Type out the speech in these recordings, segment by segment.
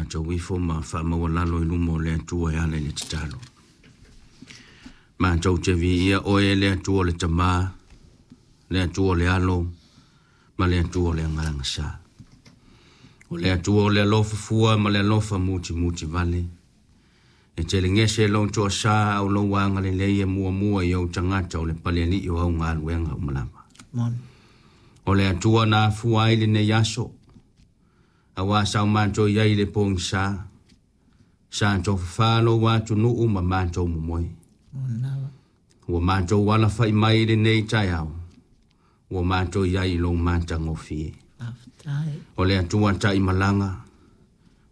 Tatou ifo ma faamaualalo i luma o le Atua e ala i le tatalo. Matou te viia oe le Atua o le Tamā, le Atua o le Alo, ma le Atua o le Agaga Sa. O le Atua o le alofa fua ma le alofa mutimuti vale. E telegese lou toasā au lou agalelei e muamua i ou tagata o le palealii o au galuega uma lava. Moni. O le Atua na afua ai lenei aso, auā sa o matou i ai i le pogisa, sa tofafa lou atunuu ma matou momoe. Moni lava. Ua matou alafai mai i lenei taeao, ua matou i ai i lou matagofie. Faafetai. O le Atua taimalaga,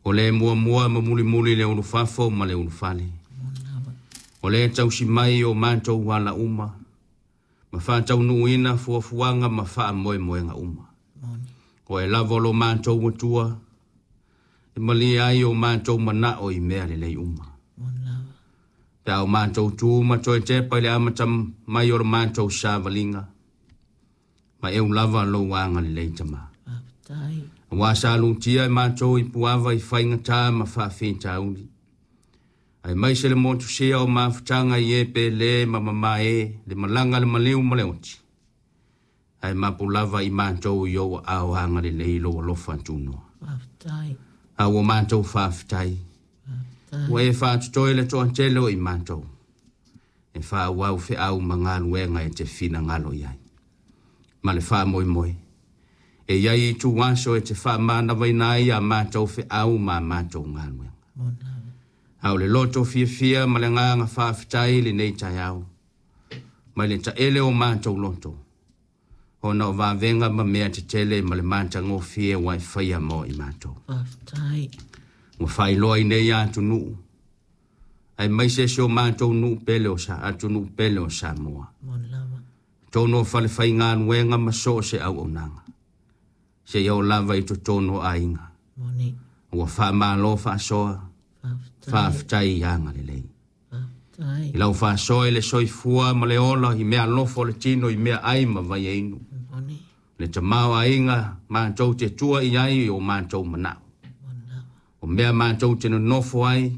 o le muamua ma mulimuli le ulufafo ma le ulufale. Moni lava. O le tausi mai o matou ala uma, ma faataunuuina fuafuaga ma faamoemoega uma. Moni. O e lava o lo matou Atua, e malie ai o matou manao i mea lelei uma. Moni lava. Pe a o matou tu ma toe tepa i le amata mai o le matou savaliga, ma eu lava lou agalelei Tamā. Faafetai. Auā sa lutia e matou i puava i faigata ma faafitauli, aemaise le motusia o mafutaga i e pele ma mamae, le malaga le maliu ma le oti, ae mapu lava i matou i ou aao agalelei lou alofa tunoa. Faafetai. A ua matou faafetai, Faafetai. ua e faatotoe le toatele o i matou, e faaauau feau ma galuega e te finagalo i ai. Ma le faamoemoe, e i ai ituaso e te faamanavaina ai a matou feau ma a matou galuega. Moni lava. A o le loto fiafia ma le agaga faafetai i lenei taeao, mai le taele o matou loto, ona o vavega ma mea tetele ma le matagofie ua e faia mo i matou. Faafetai. Ua faailoa i nei atunuu, aemaise si o matou nuu pele o sa atunuu pele o Samoa. Moni lava. Totonu o falefaigaluega ma so o se auaunaga, seia oo lava i totonu o aiga. Moni. Ua faamalo faasoa, Faafetai. faafetai i agalelei. Faafetai. I lau faasoa i le soifua ma le ola i mea alofa o le tino i mea ai ma vaiainu. Moni. Le tamaoaiga matou te tua i ai i o matou manao. Moni lava. O mea matou te nonofo ai,